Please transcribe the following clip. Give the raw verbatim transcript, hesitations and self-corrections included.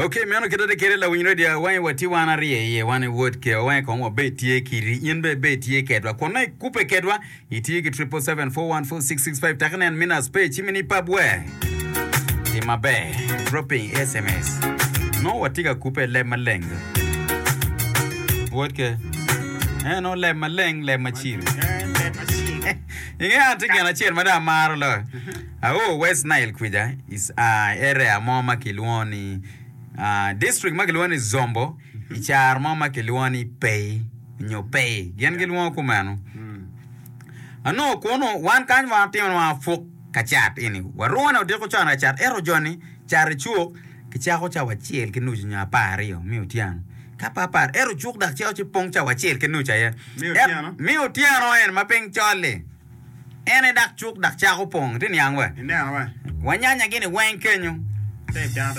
Ok, meno kite de kede lawiny radio wangi watye wan aryo iye wan i wod ke wangi kong wabed tye kidi in be bed tye kedwa kun nongo ikubbe kedwa itye ki triple seven four one four six six five tak inen Minas page ci mini pub we tim maber dropping S M S nongo watye ka kubbe i leb maleng wod ke eh nongo leb maleng, leb macilo. Eh, leb macilo. Inge an tye gin acel ma dong amaro loyo. Ao West Nile kwica is area mo ma kilwongo ni district ma kilwongo ni Zombo i caro mo ma kilwongo ni Pei nyo Pei gin gilwongo kumeno. Anongo kunu wan kany wan watimo ni wan wapuk ka cat eni warune odiko con ka cat ento joni cat i cuk kicako cawa acel ki nucu nyo apar aryo me otyeno ka pe apar ento cuk dok cito ci pong cawa acel ki nucu aye me otyeno en ma piny col-li. En aye dok cuk dok cako pong. Itye niang we? Ineno we? Wanyanya gini weng kenyo. Te i dano te